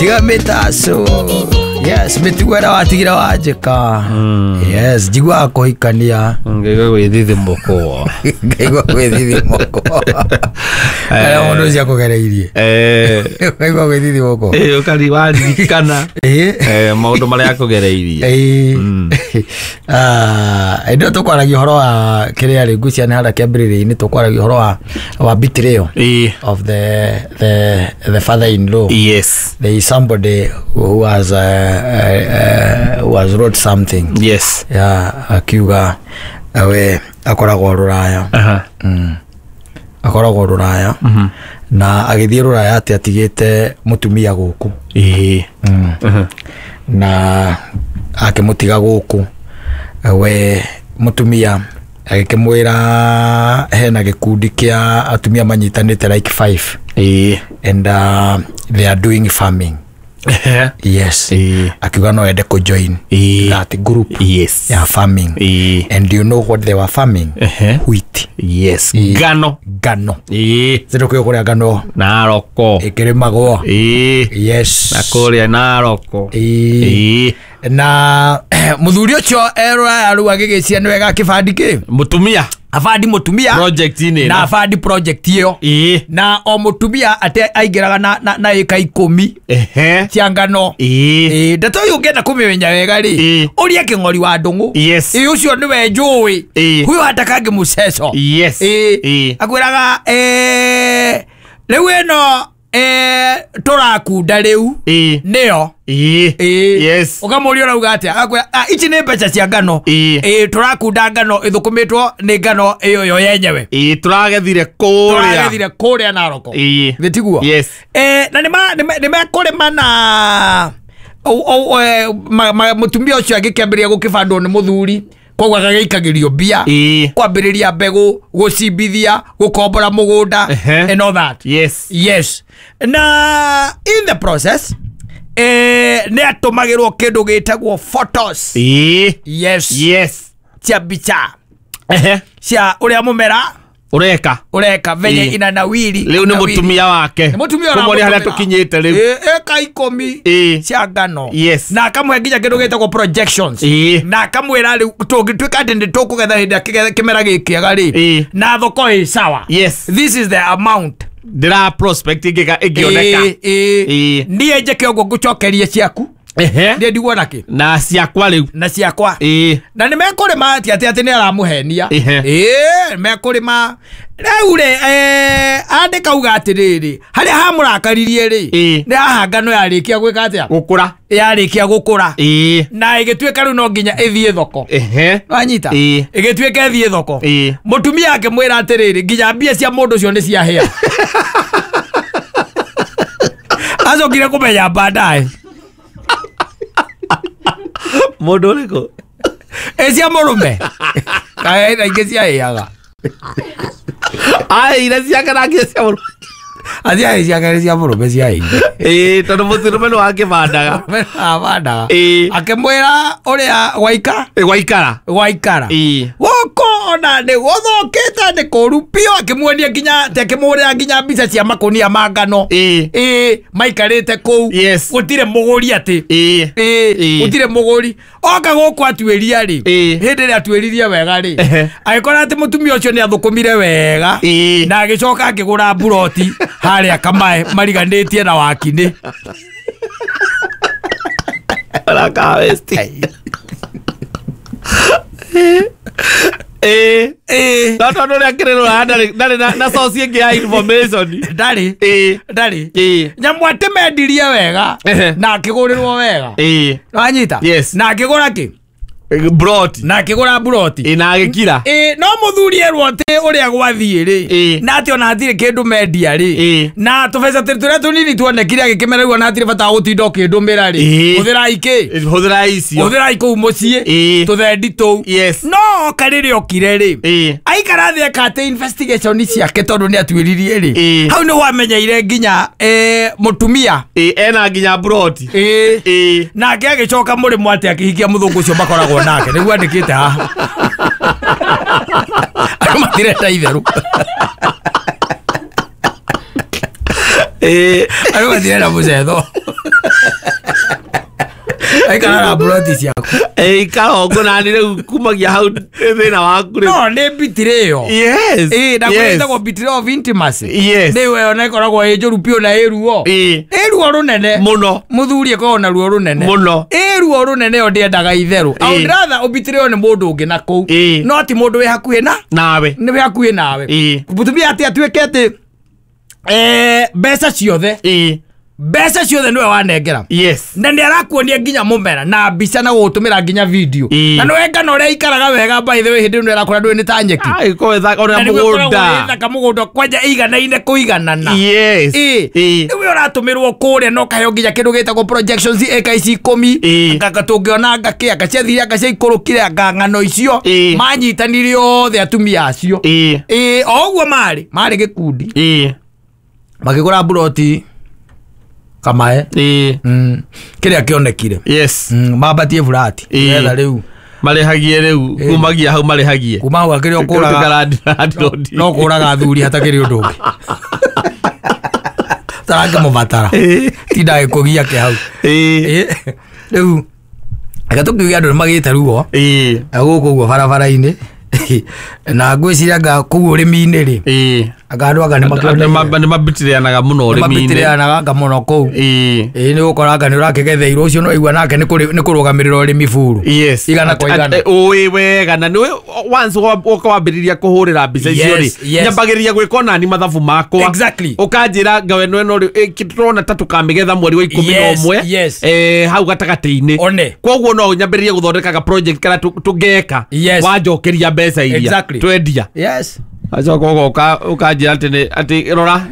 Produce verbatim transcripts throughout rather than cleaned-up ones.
Tiga mĩtaco. Yes, mĩtugo ĩrĩa watigire wanjĩka. Yes, njiguaga kũhikania. Ngaigua gwĩthithimũkwo. Ngaigua gwĩthithimũkwo. Arĩa mũndũ ũcio akũgereirie. Eh. Ngaigua gwĩthithimũkwo. Eh, ũkari waririkana. Ĩĩ. Eh, maũndũ marĩa akũgereirie. Ĩĩ. Ah, ĩndĩ ĩyo tũkwaragia ũhoro wa kĩrĩa rĩ, ngwĩciria nĩ harĩa kĩambĩrĩria-inĩ tũkwaragia ũhoro wa wa betrayal Ĩĩ. of the the the father-in-law. Yes. There is somebody who has uh, uh, who has wrote something. Yes. Yeah, akiuga we akoragwo rũraya. Aha. Mm. Akoragwo rũraya. Mhm. Na agĩthiĩ rũraya atĩ atigĩte mũtumia gũkũ. Ĩĩ. Mm. Mhm. Na akĩmũtiga gũkũ we mũtumia agĩkĩmwĩra hena gĩkundi kĩa atumia manyitanĩte like five. Ĩĩ. And uh, they are doing farming. Yes. Ĩĩ. Akiuga no ende kũjoin Ĩĩ. that group Yes. ya farming. Ĩĩ. And you know what they were farming? Ehe. Wheat. Yes. Ĩĩ. Ngano. Ngano. Ĩĩ. Zindu kũrĩa kũrĩa ngano Naroko. ĩkĩrĩmagwo. Ĩĩ. Yes. Na kũrĩa Naroko. Ĩĩ. Ĩĩ. Na mũthuri ũcio e rũraya rĩu agĩgĩcia nĩ wega akĩbandi kĩ? Mũtumia. Abandi mũtumia. Project-inĩ Na ĩno. abandi project ĩyo. Ĩĩ. Na o mũtumia ate aingĩraga na na, na ĩka ikũmi Ehe. cia ngano. Ĩĩ. Ĩĩ, ndeto ĩyo ũngĩenda kũmĩmenya wega rĩ, Ĩĩ. ũria kĩng'ori wa ndũng'ũ. Yes. Ĩĩ, ũcio nĩwe njũĩ. Ĩĩ. Huyo hatakangi mũceco. Yes. Ĩĩ. Ĩĩ. Akwĩraga eh, rĩu ĩno eh, tũrakunda rĩu Ĩĩ. nĩyo. Ĩĩ. Ĩĩ. Yes. Ũkamũria ũrauga atĩa? Agakwĩra, "Ah, ici nĩ mbeca cia ngano. Ĩĩ. Ĩĩ, tũrakunda ngano ĩthũkũmĩtwo nĩ ngano ĩyo yo yenyewe. Ĩĩ, tũragethire kũrĩa. Tũragethire kũrĩa Naroko." Ĩĩ. Githĩ tiguo? Yes. Eh, na nĩma nĩmekũrĩma na o- o- eh, ma- ma- mũtumia ũcio agĩkĩambĩrĩria gũkĩbandwo nĩ mũthuri koguo agagĩikagĩrio mbia Ĩĩ. kwambĩrĩria mbegũ gũcimbithia gũkombora mũgũnda Ehe. and all that. Yes. Yes. Na in the process eh, nĩ atũmagĩrwo kĩndũ gĩtagwo photos. Ĩĩ. Yes. Yes. Cia mbica Ehe. cia ũrĩa mũmera Ũreka. ũreka venye Ĩĩ. inanawiri. Rĩu nĩ mũtumia wake. Nĩ mũtumia Kũmũria harĩa ũramũtũmĩra. tũkinyĩte rĩu. Ĩĩ, ĩka ikũmi Ĩĩ. cia ngano. Yes. Na akamũhe nginya kĩndũ gĩtagwo projections. Ĩĩ. Na akamwĩra rĩu tũngĩtuĩka atĩ nĩ tũkũgetha hĩndĩ ĩrĩa kĩge- kĩmera gĩkĩega rĩ Ĩĩ. na thoko ĩ sawa. Yes. This is the amount. Ndĩra prospect ĩngĩka ĩngĩoneka. Ĩĩ, ĩĩ. Ĩĩ. Niĩ njĩke ũguo ngũcokerie ciaku. Ehe. Niĩ ndigwo nakĩ? Na ciakwa rĩu. Na ciakwa. Ĩĩ. Na nĩ mekũrĩma atĩ atĩ atĩ nĩ aramũhenia. Ehe. Ĩĩ, mekũrĩma. Rĩu rĩ, eh, andĩka uga atĩrĩrĩ, harĩa hamũrakaririe rĩ, Ĩĩ. nĩ haha ngano yarĩkia gwĩka atĩa? Gũkũra. Yarĩkia gũkũra. Ĩĩ. Na ĩgĩtuĩka rĩu no nginya ĩthiĩ thoko. Ehe. Wanyita? Ĩĩ. Ĩgĩtuĩka ĩthiĩ thoko. Ĩĩ. Mũtumia akĩmwĩra atĩrĩrĩ, nginya mbia cia mũndũ ũcio nĩ ciahĩa. Acokire kũmenya baadaye. Mũndũ ũrĩkũ? Ĩ cia mũrũme. Kaĩ na ingĩ ciahĩaga. Aheire ciake na nginya cia mũrũme. Aciahĩ ciake nĩ cia mũrũme ciahĩire. Ĩĩ, tondũ mũtũrũme nĩ wakĩbandaga. Abandaga. Ĩĩ. Akĩmwĩra ũrĩa gwaika Ĩ, gwaikara. gwaikara. Ĩĩ. Gũkũ ona nĩ gũthũkĩte nĩ kũru biũ akĩmuonia nginya atĩ akĩmũhũrĩra nginya mbica cia makũnia ma ngano. Ĩĩ. Ĩĩ, maikarĩte kũu. Yes. Gũtirĩ mũgũri atĩ. Ĩĩ. Ĩĩ, Ĩĩ. gũtirĩ mũgũri. Oka gũkũ atuĩria rĩ. Ĩĩ. Hĩndĩ ĩrĩa atuĩririe wega rĩ. Ehe. Agĩkora atĩ mũtumia ũcio nĩ athũkũmire wega. Ĩĩ. Na agĩcoka akĩgũra mburoti harĩa Kamae mariganĩtie na Wakinĩ. Baraka West. Ĩĩ. Ĩĩ. No tondũ ũrĩa akĩrĩ rũraya ndarĩ ndarĩ na- na source ĩngĩ ya information. Ndarĩ. Ĩĩ. Ndarĩ. Ĩĩ. Nyamũ atĩ mendirie wega Ehe. na akĩgũrĩrwo wega. Ĩĩ. Wanyita? Yes. Na akĩgũra kĩ? Broti. Na akĩgũra mburoti. Ĩĩ, na agĩkira. Ĩĩ, no mũthuri erwo atĩ ũrĩa gwathiĩ rĩ Ĩĩ. na atĩ ona hatirĩ kĩndũ mendia rĩ Ĩĩ. na tũbeca tũrĩa tũnini tuonekire agĩkĩmera rĩu ona hatirĩ bata wa gũtinda ũkĩndũmĩra rĩ Ĩĩ. hũthĩrai kĩ Hũthĩra icio. hũthĩrai kũu mũciĩ Ĩĩ. tũthendi tũu Yes. no oka rĩrĩa okire rĩ Ĩĩ. aikara thĩ eka atĩ investigation ciake tondũ nĩ atuĩririe rĩ Ĩĩ. hau nĩ wamenyeire nginya eh, mũtumia Ĩĩ, ena nginya broti. Ĩĩ. Ĩĩ. Nake agĩcoka mũrĩmo atĩ akĩhikia mũthũngũ ũcio makoragwo nake nĩguo andĩkĩte haha. Andũ matirenda itherũ. Ĩĩ. Andũ matirenda mũcetho. Aikara na broti ciaku. Ĩ ikara ũguo nani rĩu kumagia hau thĩna waku rĩu. No nĩ betrayal. Yes. Ĩ na yes. kwĩtagwo betrayal of intimacy. Yes. Nĩ we ona ĩkoragwo ĩ njũru biũ na ĩ ruo. Ĩ. Ĩ ruo rũnene. Mũno. Mũthuri ĩkoragwo na ruo rũnene. Mũno. Ĩ ruo rũnene yo ndĩendaga itherũ. I would Ĩ. rather ũbetrayal nĩ mũndũ ũngĩ na kũu. Ĩ. No ti mũndũ wĩ hakuhĩ na Nawe. nĩ wĩ hakuhĩ nawe. Ĩ. Mũtumia atĩ atuĩke atĩ eh, mbeca ciothe Ĩ. mbeca ciothe nĩwe wanengera. Yes. Na nĩ arakuonia nginya mũmera na mbica na gũgũtũmĩra nginya video. Ĩ. Na nĩwe ngano ũrĩa aikaraga wega by the way hĩndĩ ĩno ĩrakũra ndũĩ nĩ ta nyeki. Ai ko ĩthaka Na ona nĩguo ĩkoragwo mũgũnda. ĩthaka mũgũnda kwanja ĩiganaine kũiganana. Yes. Ĩ. Ĩ. Rĩu ũratũmĩrwo kũrĩa na ũkaheo nginya kĩndũ gĩtagwo projections ĩka ici ikũmi. Ĩ. Anga tũngĩona anga kĩ anga ciathire anga ciaikũrũkire anga ng'ano icio. Ĩ. Manyitanire othe atumia acio. Ĩ. Ĩ o ũguo marĩ marĩ gĩkundi. Ĩ. Makĩgũra mburoti Kamae. Ĩ. Mm. Kĩrĩa kĩonekire. Yes. Mm, mambatie burati. Ĩ. Nĩgetha rĩu Marĩhagie rĩu kumagia hau marĩhagie. kuma hau akĩrĩ o kũraga no kũraga athuri hatakĩrĩ ũndũ ũngĩ. Tarakĩmũbatara. Ĩ. Tinda gĩkũgia kĩ hau. Ĩ. Ĩ. Rĩu reke tũkiuge andũ nĩmagĩte ruo Ĩ. gũkũ ũguo barabara-inĩ na ngwĩciria anga kũu ũrĩmi-inĩ rĩ Ĩ. anga andũ anga nĩmakĩoneire. Nĩ mabitirĩanaga mũno ũrĩmi-inĩ. Nĩmabitirĩanaga anga mũno kũu. Ĩ. Ĩ nĩ ũgũkora anga nĩ ũrakĩgetheirwo ũcio no aigua nake nĩ kũrĩ- nĩ kũrũgamĩrĩra ũrĩmi buru. Yes. Igana kwa igana. Ũĩ wega na nĩ once woka wambĩrĩria kũhũrĩra mbica icio rĩ Yes, yes. nyambagĩrĩria gwĩka onani mathabu makwa. Exactly. Ũkanjĩra ngawe ĩno ĩno rĩ tũrona ta tũkamĩgetha mweri wa ikũmi na Yes, ũmwe yes. eh, hau gatagatĩ-inĩ. One. Koguo no nyambĩrĩrie gũthondekaga project karĩa tũ- tũngeka Yes. wanjokeria mbeca iria Exactly. twendia. Yes. Acoka ũgoka ũkanjĩra atĩ nĩ atĩ rora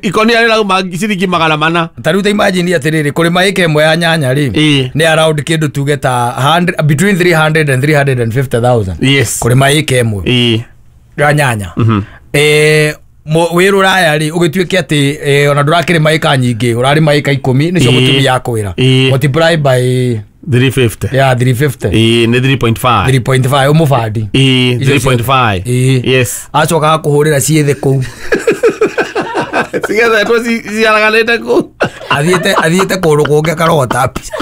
ikonia rĩrauma ciringi magana mana. Ta rĩu ta imagine atĩrĩrĩ kũrĩma ĩka ĩmwe ya nyanya rĩ Ĩ. nĩ around kĩndũ tuge ta hundred between three hundred and three hundred and fifty thousand. Yes. Kũrĩma ĩka ĩmwe Ĩ. ya nyanya. Eh wĩ rũraya rĩ ũgĩtuĩke atĩ eh, ona ndũrakĩrĩma ĩka nyingĩ ũrarĩma ĩka ikũmi nĩcio Ĩ. mũtumia akwĩra. Ĩ. Multiply by three fifty. yeah three fifty. Ĩ nĩ three point five. three point five ũmũbandi. Ĩ Icio three point five. Ĩ. Yes. Acoka agakũhũrĩra ciĩ thĩ kũu. Cigethetwo ciaraganĩte kũu. Athiĩte athiĩte kũndũ kũngĩ akarogota mbica.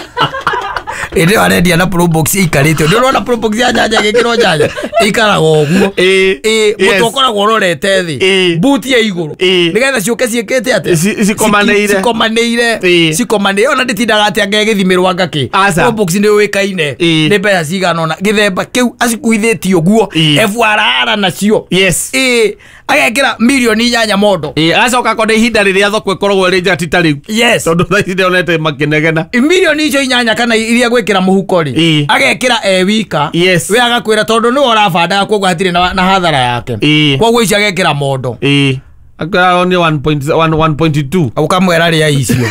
Ĩndĩ ĩyo arendia na probox ĩikarĩte. Nĩ ũrona probox ya nyanya ĩgĩkĩrwo nyanya ĩikaraga ũguo. Ĩ. Ĩ Yes. mũtwe ũkoragwo ũrorete thĩ. Ĩ. Buti ya igũrũ. Ĩ. Nĩgetha ciũke ciĩkĩte atĩa? Ci- cikomanĩire. Cikomanĩire. Ĩ. Cikomanĩire. Ona ndĩtindaga atĩ anga ĩgĩthimĩrwo anga kĩ. Aca. Probox nĩ yũĩkaine. Ĩ. Nĩ mbeca cigana ũna. Gĩthemba kĩu acikuithĩtie ũguo. Ĩ. F R R nacio. Yes. Ĩ. Agekĩra mirioni inyanya mondo. Ĩ agacoka akona ihinda rĩrĩa thoko ĩkoragwo ĩrĩ njega ti ta rĩu. Yes. Tondũ thaa ici ndĩonete makĩnegena. Mirioni icio inyanya kana iria gwĩkĩra mũhuko rĩ Ĩ. agekĩra e wika. Yes. We agakwĩra tondũ nĩwe ũrabandaga koguo hatirĩ na, na hathara yake. Ĩ. Koguo icio agekĩra mondo. Ĩ. Akwĩra ni one point one one point two. Ũkamwĩra rĩa icio.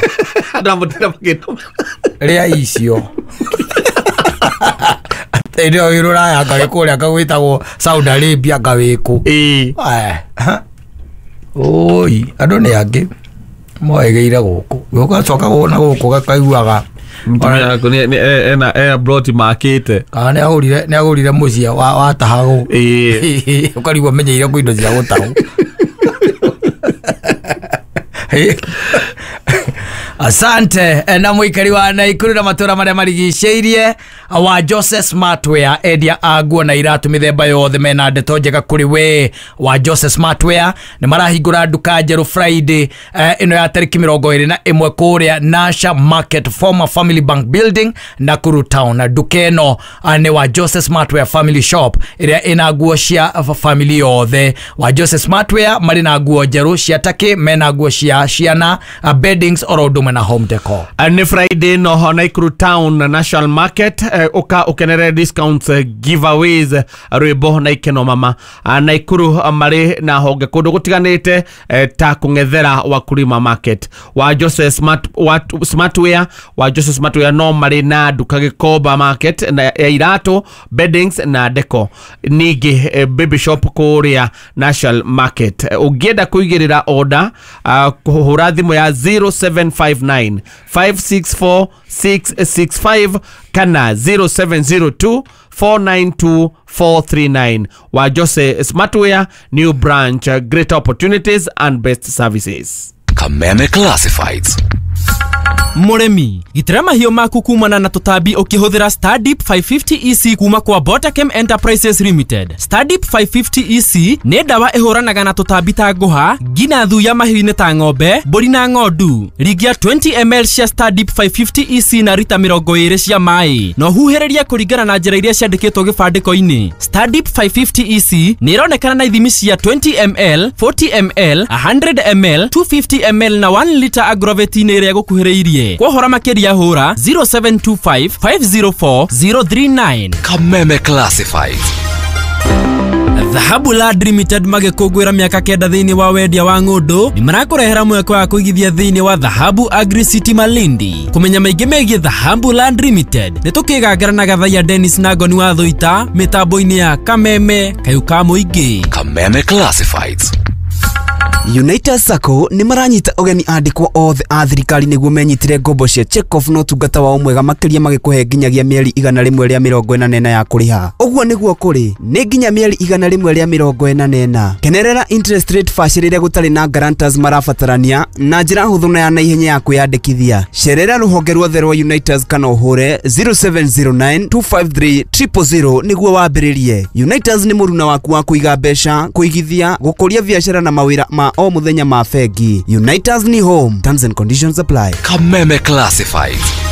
Andũ amũtira makĩnoma. Rĩa icio. Hĩndĩ ĩyo wĩ rũraya anga wĩ kũrĩa anga gwĩtagwo Saudi Arabia anga wĩ kũ. Ĩ. Oi, andũ nĩ angĩ moĩgĩire gũkũ. Ũgacoka na gũkũ gakaiguaga Mũtumia waku nĩ nĩ ena ena broti makĩte. kana nĩ agũrire nĩ agũrire mũciĩ wa watahagwo. Ĩ. Ũkarigwo menyeire kwĩ indo cia gũtahwo. Asante na mũikari wa Naikuru na matũra marĩa marigicĩirie wa Jose Smartwear endia a nguo na iratu mĩthemba yothe mena ndeto njega kũrĩ we wa Jose Smartwear nĩ marahingũra nduka njerũ Friday ĩno ya tarĩki mĩrongo ĩrĩ na ĩmwe kũrĩa Nasha Market former Family Bank Building Nakuru Town. Na nduka ĩno nĩ wa Jose Smartwear Family Shop ĩrĩa ĩna nguo cia family yothe. Wa Jose Smartwear marĩ na nguo njerũ cia takĩ, mena nguo cia ciana, beddings oro ũndũ ũmwe na home decor. Nĩ Friday no Nakuru Town National Market uka ukenere discounts, giveaways, rwĩmbo na ikeno mama. Nakuru marĩ na honge kũndũ gũtiganĩte ta kũng'ethera Wakulima Market wa Jose Smart wa Smartwear wa Jose Smartwear no marĩ na nduka Gĩkomba Market na ya iratũ, beddings na deco, ningĩ baby shop kũrĩa National Market. Ũngĩenda kũigĩrĩra order kũhũra thimũ ya zero seven five nine five six four six six five kana zero seven zero two four nine two four three nine. Wa Jose Smartwear, new branch, greater opportunities and best services. Kameme Classifieds. Mũrĩmi, gitĩra mahiũ maku kumana na tũtambi ũkĩhũthĩra Stardip mĩrongo ĩtano E C kuma kwa Botachem Enterprises Limited. Stardip mĩrongo ĩtano E C nĩ ndawa ĩhũranaga na tũtambi ta ngũha, ngina thuya mahiũ-inĩ ta ng'ombe, mbũri na ng'ondu. Ringia mĩrongo ĩrĩ M L cia Stardip mĩrongo ĩtano E C na rita mĩrongo ĩrĩ cia maĩ na ũhuhĩrĩrie kũringana na njĩra iria ciandĩkĩtwo gĩbandĩko-inĩ. Stardip mĩrongo ĩtano E C nĩ ĩronekana na ithimi cia mĩrongo ĩrĩ M L, mĩrongo ĩna M L, igana M L, magana merĩ na mĩrongo ĩtano M L na mwena lita agrovet-inĩ ĩrĩa ĩgũkuhĩrĩirie. Kwa ũhoro makĩria hũra zero seven two five five zero four zero three nine. Kameme Classifieds. Dhahabu Land Limited magĩkũngũĩra mĩaka kenda thĩinĩ wa wendia wa ng'ũndũ nĩ marakũrehera mweke wa kũigithia thĩinĩ wa Dhahabu Agri City Malindi. Kũmenya maingĩ megiĩ Dhahabu Land Limited nĩ tũkĩgangara na Gathaiya Dennis na Ngoni wa Thũita mĩtambo-inĩ ya Kameme kayũ ka mũingĩ. Kameme Classifieds. United Sacco nĩ maranyita ũgeni andĩkwo othe a thirikari nĩguo menyitĩre ngombo cia check-off na ũtungata wao mwega makĩria, magĩkũhe nginyagia mĩeri igana rĩmwe rĩa mĩrongo ĩna na ĩna ya kũrĩha. Ũguo nĩguo kũrĩ nĩ nginya mĩeri igana rĩmwe rĩa mĩrongo ĩna na ĩna. Kenerera interest rate bacĩrĩre gũtarĩ na guarantors marabatarania na njĩra hũthũ na ya naihenya ya kwĩyandĩkithia. Cerera rũhonge ruothe rwa Unitas kana ũhũre zero seven zero nine two five three zero zero zero nĩguo wambĩrĩrie. Unitas nĩ mũruna waku wa kũiga mbeca, kũigithia, gũkũria biacara na mawĩra ma o mũthenya ma bengi. Unitas ni home. Terms and conditions apply. Kameme Classifieds.